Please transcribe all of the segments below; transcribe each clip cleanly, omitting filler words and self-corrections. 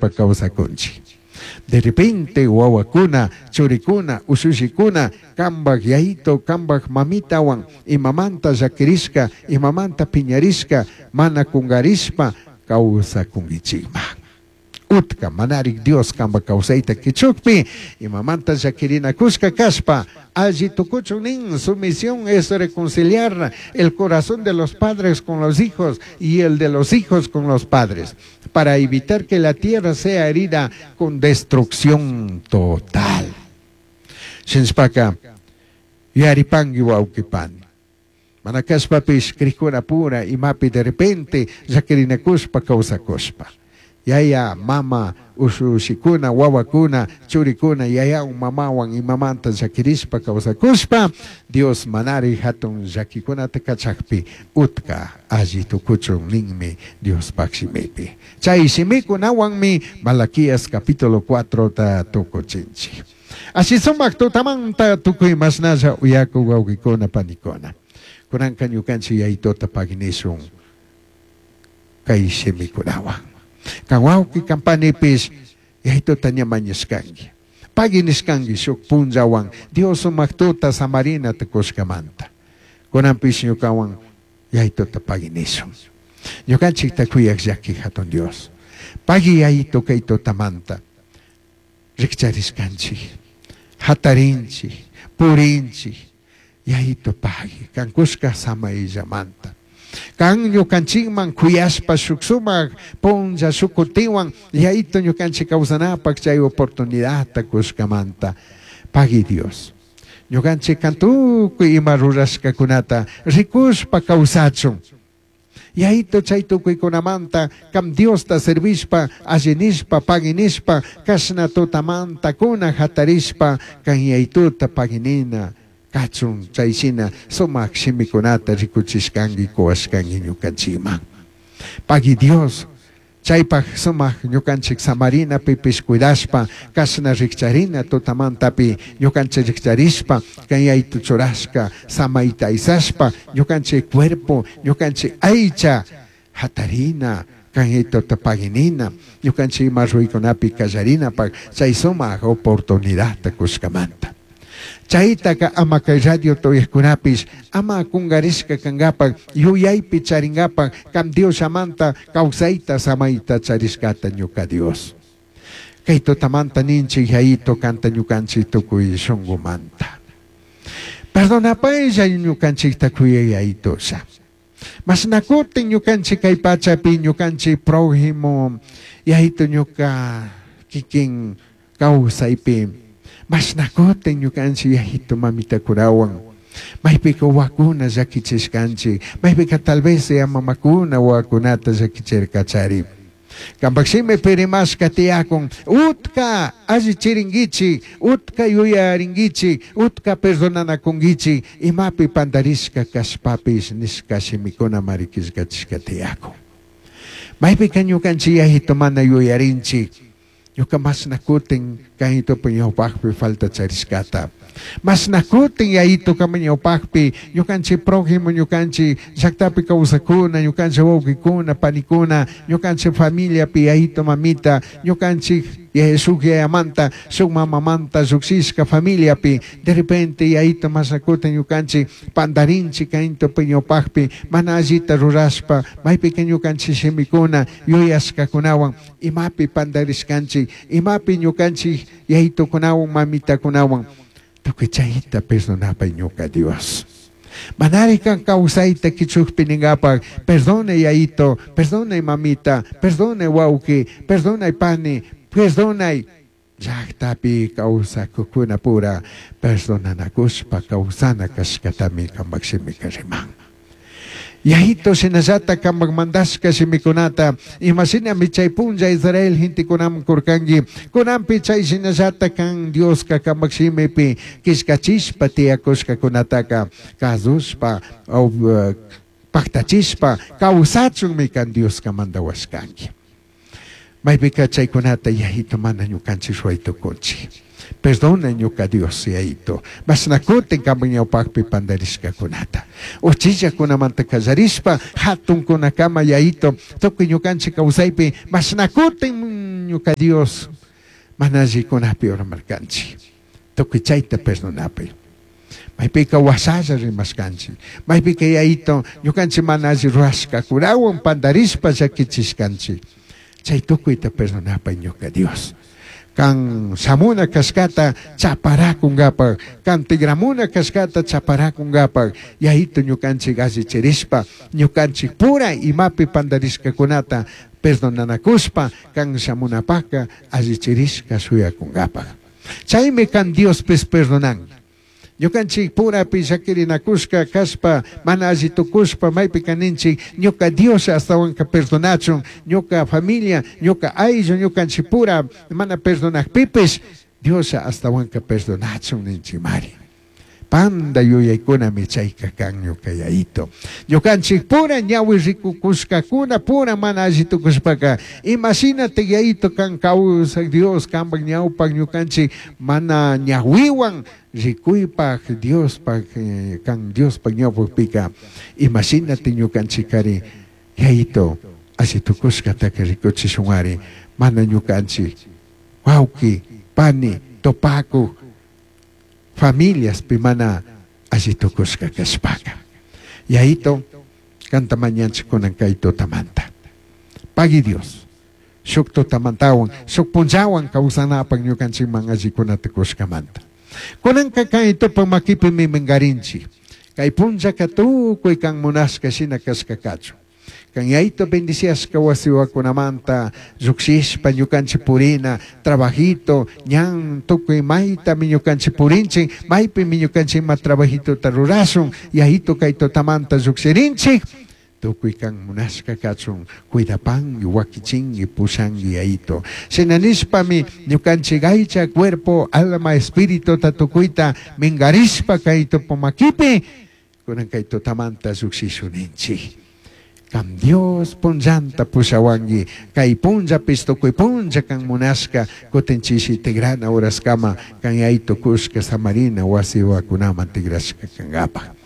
llaquirishpa kawsakunchik. De repente wawakuna, churikuna, ushushikuna kambaj yayito, kambaj mamitawan imamanta llaquirishka, imamanta piñarishka, mana kungarishpa kawsakunkichikman. Utka manarik Dios kamba kawsayta kichukpi, imamanta llaquirinakushka kashpa, alli tukuchun nin, su misión es reconciliar el corazón de los padres con los hijos y el de los hijos con los padres, para evitar que la tierra sea herida con destrucción total. Shinshpaka, yuyaripangi wawqi pani. Mana kashpapish crikuna pura imapi de repente llaquirinakushpa kawsakushpa. Yaya, mama, ushushikuna, wawakuna, churikuna, yayawan, mamawan imamanta llaquirishpa kawsakushpa, Dios manari hatun llaquikunata kachakpi utka alli tukuchun ninmi Diospaj shimipi. Chay shimikunawanmi Malaquías capítulo 4 ta tukuchinchik. Ashi sumak tutamanta tukuy mashnalla uyaku wawqikuna panikuna. Kunanka ñukanchik yayituta paginishun kay shimikunawan. Kan wawqi kan panipish yayituta ña mañashkanki. Paginishkanki shuk punllawan Dios sumak tuta samarina tukushkamanta. Kunanpish ñukawan yayituta paginishun. Ñukanchikta kuyaq llaki hatun Dios. Pagui yayito kay tutamanta. Rikcharishkanchik, hatarinchik, purinchik, yayito pagui, kankushka samayllamanta. Kan ñukanchikman kuyashpa shuk sumak punlla shuk kutiwan yayito ñukanchik kawsanapak chay oportunidadta kushkamanta. Pagui Dios. Ñukanchik kan tukuy ima rurashkakunata rikushpa kawsachun. Yayito chay tukuykunamanta kam Diosta servishpa, allinishpa, paginishpa, kashna tutamanta kuna hatarishpa, kan yayituta paginina kachun chay shina sumak shimikunata rikuchishkanki kuwashkanki ñukanchikman. Pagui Dios, chaypaj sumak ñukanchik samarina pipish cuidashpa, kashna rikcharina tutamantapi ñukanchik rikcharishpa, kan yaytu churashka samayta aysashpa, ñukanchik cuerpo, ñukanchik aycha hatarina, kan yaytuta paginina, ñukanchik ima ruykunapi kallarinapak chay sumak oportunidadta kushkamanta. Chaytaka ama kay radio tuyajkunapish ama kungarishka kankapak yuyaypi charinkapak kam Dios llamanta kawsayta samayta charishkata ñuka Dios. Kay tutamanta ninchik yayito kanta ñukanchik tukuy shunkumanta. Perdonapaylla ñukanchikta kuyay yayitosha. Mashnakutin ñukanchik kay pachapi ñukanchik prójimo yayito ñuka kikin kawsaypi. Mashnakutin ñukanchik yayito mamitakunawan. Maypika wawakuna llakichishkanchik, maypika tal vez ya mamakuna wawakunata llakichirkachari. Kampak shimipi rimashka tiyakun, utka allichirinkichik, utka yuyarinkichik, utka perdonanakunkichik, imapi pandarishka kashpapish nishka shimikuna marikishkachishka tiyakun. Maypika ñukanchik yayito mana yuyarinchik, ñuka mashnakutin kayitupi ñawpakpi falta charishkata. Mashnakutin yayito kama ñawpakpi ñukanchik prójimo, ñukanchik llaktapi kawsakuna, ñukanchik wawqikuna, panikuna, ñukanchik familiapi yayito mamita, ñukanchik shuk yayamanta, shuk mamamanta llukshishka familiapi, de repente yayito mashnakutin ñukanchik pandarinchik kayitupi ñawpakpi mana allita rurashpa, maypika ñukanchik shimikuna, yuyashkakunawan, imapi pandarishkanchik, imapi ñukanchik yayitukunawan, mamitakunawan, tukuy chayta perdonapay ñuka Dios. Manari kan kawsayta kichukpi ninkapak, perdone yayito, perdone mamita, perdone wawqi, perdone pani, perdonay llaktapi kawsakukuna pura, perdonanakushpa kawsana kashkatami kampak shimika riman. Yayito shinallata kampak mandashka shimikunata, imashinami chay punlla Israel gentekunaman kurkanki, kunanpi chay shinallata kan Dioska kampak shimipi kishkachishpa tiyakushkakunataka kasushpa, paktachishpa kawsachunmi kan Dioska mandawashkanki. Maypika chaykunata yayito mana ñukanchik ruway tukunchik. Perdona ñuka Dios yayito. Mashnakutin kampak ñawpakpi pandarishkakunata. Uchillakunamanta kallarishpa hatunkunakama yayito tukuy ñukanchik kawsaypi mashnakutin Ñuca Dios mana allikunapi urmarkanchik. Tukuy chayta perdonapay. Maypika wasalla rimashkanchik. Maypika Yayito ñukanchik mana alli rurashkakunawan pandarishpa llakichishkanchik. Chay tukuyta perdonapay ñuka Dios. Kan shamuna kashkata chaparakunkapaj, kan tigramuna kashkata chaparakunkapaj, Yayito ñukanchik allichirishpa, ñukanchik pura imapi pandarishkakunata perdonanakushpa, kan shamunapaka allichirishka shuyakunkapaj. Chaymi kan Diospis perdonan. Ñukanchik purapi llakirinakushka kashpa, mana alli tukushpa maypi kaninchik, ñuka Dios astawanka perdonachun, ñuka familia, ñuka ayllu, ñukanchik pura mana perdonakpipis, Dios astawanka perdonachun ninchikmari. Panda yuyaykunami chayka kan ñuka Yayito. Ñukanchik pura ñawi rikukushkakuna pura mana alli tukushpaka, imashinatik Yayito kan kawsak Dios kanpak ñawpak ñukanchik mana ñawiwan rikuypak Diospaj kan Diospaj ñawpakpika, imashinatik ñukanchikari Yayito alli tukushkataka rikuchishunari, mana ñukanchik wawki, pani, topakuk familiaspi mana alli tukushka kashpaka. Yayito, kanta mañanchik kunan kay tutamanta. Pagui Dios, shuk tutamantawan, shuk punllawan kawsanapak ñukanchikman allikunata kushkamanta. Kunanka kay tupak makipimi minkarinchik. Kay punllaka tukuy kan munashka shina kashka kachun. Kan Yayito bendiciashka wasiwakunamanta llukshishpa ñukanchik purina, trabajito, ñan tukuy maytami ñukanchik purinchik, maypimi ñukanchik ima trabajitota rurashun, Yayito kay tutamanta llukshirinchik, tukuy kan munashka kachun, cuidapangi, wakichingi, pushangi Yayito. Shina nishpami ñukanchik aycha, cuerpo, alma, espirituta tukuyta minkarishpa kay tupu makipi, kunan kay tutamanta llukshishun ninchik. Kam Dios punllanta pushawangi, kay punllapis tukuy punlla kan munashka, kutin chishi tigrana horaskama kan Yayito kushka samarina wasiwakunaman tigrashka kankapaj.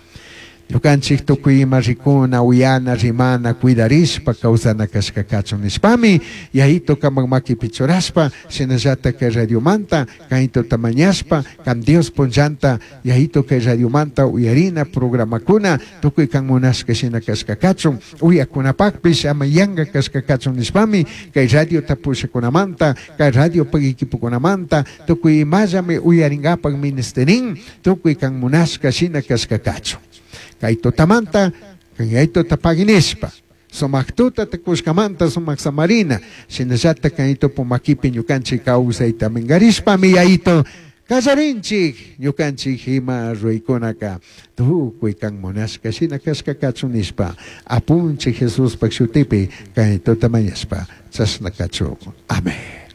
Ñukanchik tukuy ima rikuna, uyana, rimana, cuidarishpa kawsana kashka kachun nishpami, Yayito kamak makipi churashpa, shinallata kay radiomanta, kaytuta mañashpa, kan Dios punllanta, Yayito kay radiomanta uyarina programakuna, tukuy kan munashka shina kashka kachun, uyakunapakpish ama yanka kashka kachun nishpami, kay radiota pushakunamanta, kay radiopak equipokunamanta, tukuy imallami uyarinkapak ministerin, tukuy kan munashka shina kashka kachun. Kay tutamanta, kay Yayituta paginishpa, sumak tuta tukushkamanta sumak samarina, shinallata kay tupu makipi ñukanchik kawsayta minkarishpami Yayito kallarinchik, ñukanchik ima ruykunaka tukuy kan munashka shina kashka kachun nishpa, apunchik Jesuspak shutipi kay tuta mañashpa, chashna kachun. Amén.